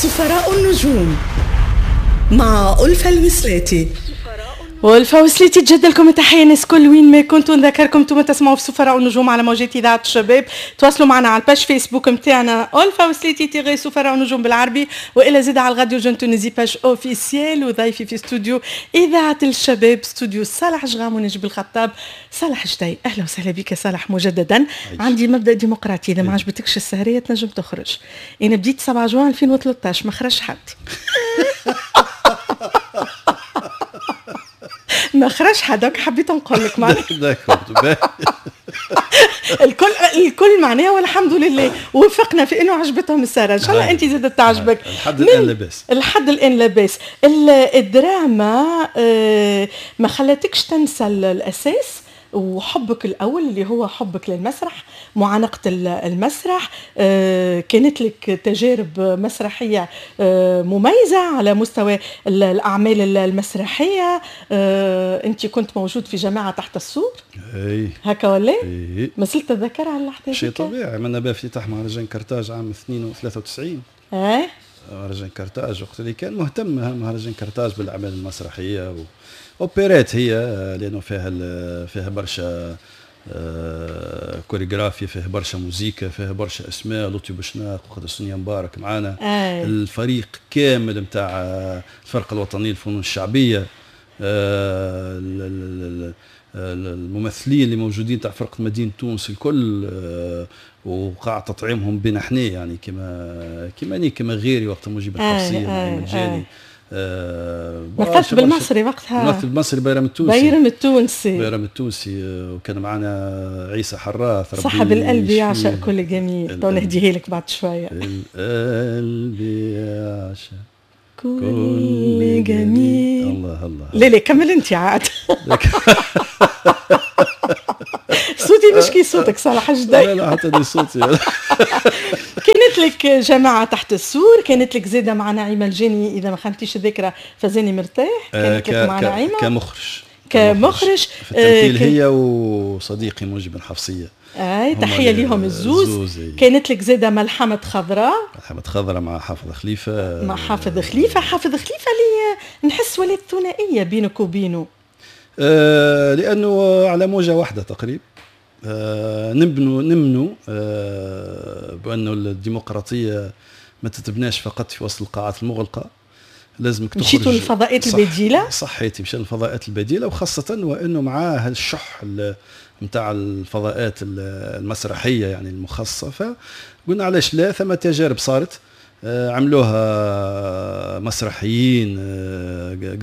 سفراء النجوم مع ألفة الوسلاتي. والفا وسليتي تجد لكم التحية الناس كل وين ما كنتوا. نذكركم انتم تسمعوا في سفراء النجوم على موجات اذاعة الشباب. تواصلوا معنا على ال page Facebook نتاعنا ألفا وسليتي tiret سفراء النجوم بالعربي، والا زاد على ال Radio Jeune Tunisie page officielle. وضيفي في استوديو اذاعة الشباب استوديو صالح جغام ونجيب الخطاب. صالح جدي، اهلا وسهلا بك صالح مجددا. عندي مبدا ديمقراطي، اذا ما عجبتكش السهريه تنجم تخرج. انا بديت 7 جوان 2013 ما خرج حد. ما خرج حد، حبيت نقول لك معناها الكل معناها، والحمد لله وفقنا في انه عجبتهم السهرة. ان شاء الله انت زادت تعجبك. الحد الان لاباس، الحد الان لاباس. الدراما ما خلاتكش تنسى الاساس وحبك الاول اللي هو حبك للمسرح، معانقه المسرح. كانت لك تجارب مسرحية مميزة على مستوى الاعمال المسرحية. انت كنت موجود في جماعة تحت السور، اي هكا ولا؟ ما زلت تتذكر على اللحظة؟ شيء طبيعي. عملنا بها افتتاح مهرجان كرتاج عام 92. اي مهرجان كرتاج وقت اللي كان مهتم مهرجان كرتاج بالاعمال المسرحية اوبرات، هي لانه فيها برشا كوريغرافيا، فيها برشا موزيكا، فيها برشا اسماء، لطفي بوشناق وقت سونيا مبارك معانا. الفريق كامل نتاع الفرقة الوطنية للفنون الشعبية، الممثلين اللي موجودين تاع فرقه مدينة تونس الكل، وقع تطعيمهم بين احنا يعني كما كما غيري وقت مجيب الحفصية نعيم الجاني. مثلت بالمصري وقتها، مثلت بالمصري بيرم التونسي، بيرم التونسي، بيرم التونسي. وكان معنا عيسى حراث، صاحب القلب يعشق كل جميل. تو نهديه لك بعد شوية. القلب يعشق كل جميل. الله الله. لا لا كمل انت عاد. صوتي مش كي صوتك صالح جدي. لا لا حتى دي صوتي. كانت لك جماعة تحت السور، كانت لك زادة مع نعيمة الجاني إذا ما خانتيش الذاكرة فزاني مرتاح. كانت لك مع نعيمة كمخرج في التمثيل هي وصديقي مجيب الحفصية. اي تحية ليهم الزوز. كانت لك زادة ملحمة خضراء، ملحمة خضراء مع حافظ خليفة، مع حافظ خليفة. حافظ خليفة اللي نحس ولات ثنائية بينك وبينه، لأنه على موجة واحدة تقريبا. نمنوا بأنه الديمقراطية ما تتبناش فقط في وسط القاعات المغلقة، لازمك تخرج. مشيتوا للفضاءات البديلة. صحيتي، مشينا للفضاءات البديلة، وخاصة وأنه مع هالشح نتاع الفضاءات المسرحية يعني المخصصة، فقلنا علاش لا. ثم تجارب صارت عملوها مسرحيين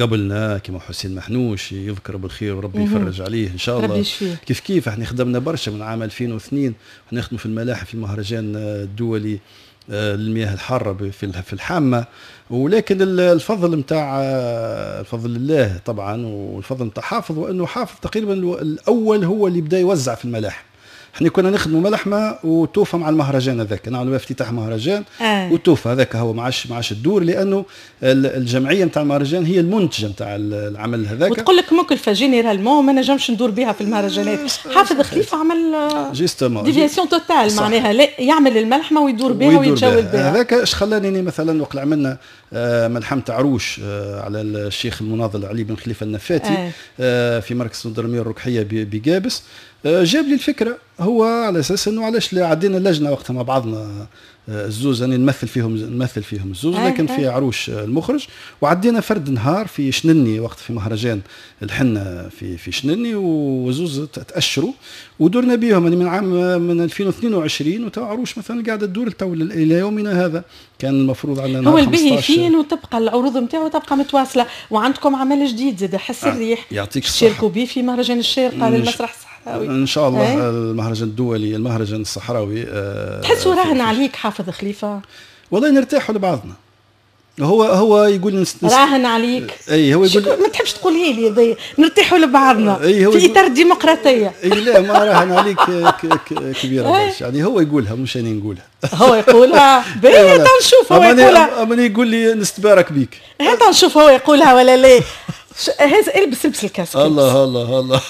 قبلنا كما حسين محنوش يذكر بالخير وربي يفرج عليه ان شاء الله. كيف كيف احنا خدمنا برشا من عام 2002 نخدموا في الملاحم في المهرجان الدولي للمياه الحارة في الحامه، ولكن الفضل نتاع الفضل لله طبعا، والفضل نتاع حافظ، وانه حافظ تقريبا الاول هو اللي بدا يوزع في الملاحم. احنا كنا نخدموا ملحمة وتوفى مع المهرجان هذاك، نعملوا افتتاح مهرجان وتوفى هذاك هو ما عادش الدور، لانه الجمعية نتاع المهرجان هي المنتجة نتاع العمل هذاك. وتقول لك مكلفة généralement ما نجمش ندور بها في المهرجانات. حافظ خليفة عمل déviation totale، معناها لا يعمل الملحمة ويدور بها ويتجول بها. هذاك اش خلاني مثلا وقت عملنا ملحمة عروش على الشيخ المناضل علي بن خليفة النفاتي في مركز الدرميه الركحيه بقابس، جاب لي الفكرة هو على اساس انه علاش لا. عدينا اللجنة وقتها مع بعضنا الزوز، انا نمثل فيهم الزوز، لكن في عروش المخرج، وعدينا فرد نهار في شنني وقت في مهرجان الحنة في شنني، وزوز تاشروا ودرنا بهم يعني من عام من 2022 وتو عروش مثلا قاعدة تدور تو الى يومنا هذا. كان المفروض عندنا هو البهي فين وتبقى العروض نتاعو تبقى متواصلة. وعندكم عمل جديد زاد حس الريح، يعطيك الصحة، شاركوا به في مهرجان الشارقة للمسرح الصحراوي ان شاء الله. المهرجان الدولي المهرجان الصحراوي. تحسوا راهن عليك حافظ خليفة؟ والله نرتاحوا لبعضنا. هو يقول راهن عليك. اي هو يقول ما تحبش تقولي لي نرتاحوا لبعضنا في اطار الديمقراطية. اي لا ما راهن عليك كبيرة برشا يعني، هو يقولها مش انا نقولها. هو يقولها باهي نشوف هو يقولها. اما يقول لي نستبارك بيك، هذا نشوف هو يقولها ولا لا. هذا البس ال casque. الله الله الله.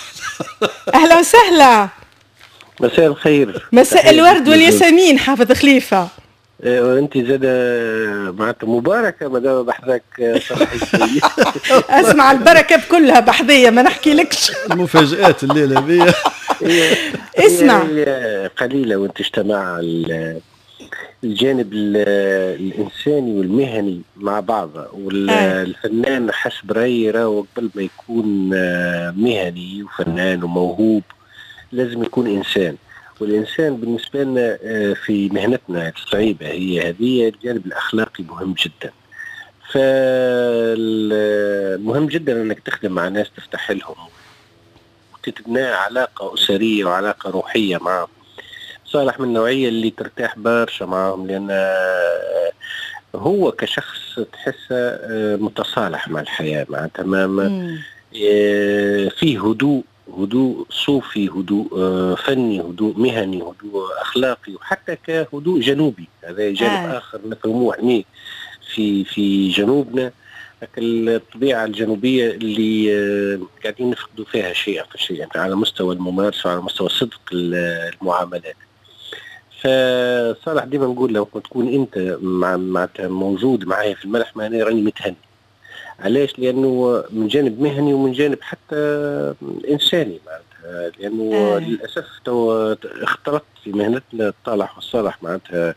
اهلا وسهلا. مساء الخير. مساء الورد والياسمين حافظ خليفة. وانت زاد معناتها مباركة مادام بحذاك صالح. اسمع، البركة بكلها بحذيه، ما نحكي لكش. المفاجآت الليلة هذه. اسمع. قليله وانت اجتمع الجانب الانساني والمهني مع بعض. والفنان حسب رايي راهو قبل ما يكون مهني وفنان وموهوب لازم يكون انسان، والانسان بالنسبة لنا في مهنتنا الصعيبه هي هذه الجانب الاخلاقي مهم جدا. فالمهم جدا انك تخدم مع ناس تفتح لهم وتتبنى علاقة اسرية وعلاقة روحية معهم. صالح من النوعية اللي ترتاح برشا معهم، لان هو كشخص تحسه متصالح مع الحياه، معناتها ما فيه هدوء، هدوء صوفي، هدوء فني، هدوء مهني، هدوء اخلاقي، وحتى كهدوء جنوبي. هذا جانب اخر نفهموه احنا في جنوبنا، الطبيعة الجنوبية اللي قاعدين نفقدوا فيها شيئا فشيئا على مستوى الممارسة وعلى مستوى صدق المعاملات. فصالح ديما نقول لو تكون انت مع موجود معايا في الملحمة انا راني متهني. علاش؟ لانه من جانب مهني ومن جانب حتى انساني معناتها، لانه للاسف تو اختلط في مهنتنا الطالح والصالح معناتها.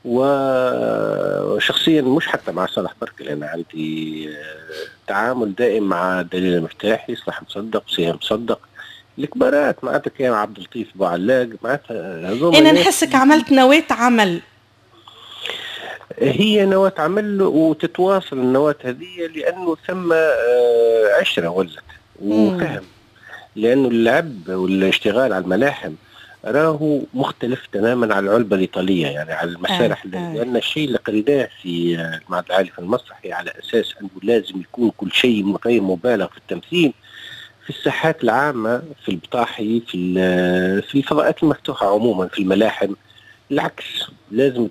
وشخصيا مش حتى مع صالح برك، لان عندي تعامل دائم مع دليل المفتاحي، صلاح مصدق، سهام مصدق، الكبارات معناتها، كان عبد اللطيف بوعلاق معناتها. انا نحسك عملت نواة عمل. هي نواة عمل وتتواصل النواة هذه لأنه ثم عشرة ولت وفهم، لأنه اللعب والاشتغال على الملاحم راهو مختلف تماما على العلبة الإيطالية، يعني على المسارح. لأن الشيء اللي قريناه في المعهد العالي في المسرح على أساس أنه لازم يكون كل شيء غير مبالغ في التمثيل في الساحات العامة، في البطاحي، في الفضاءات المفتوحة عموما، في الملاحم العكس لازم.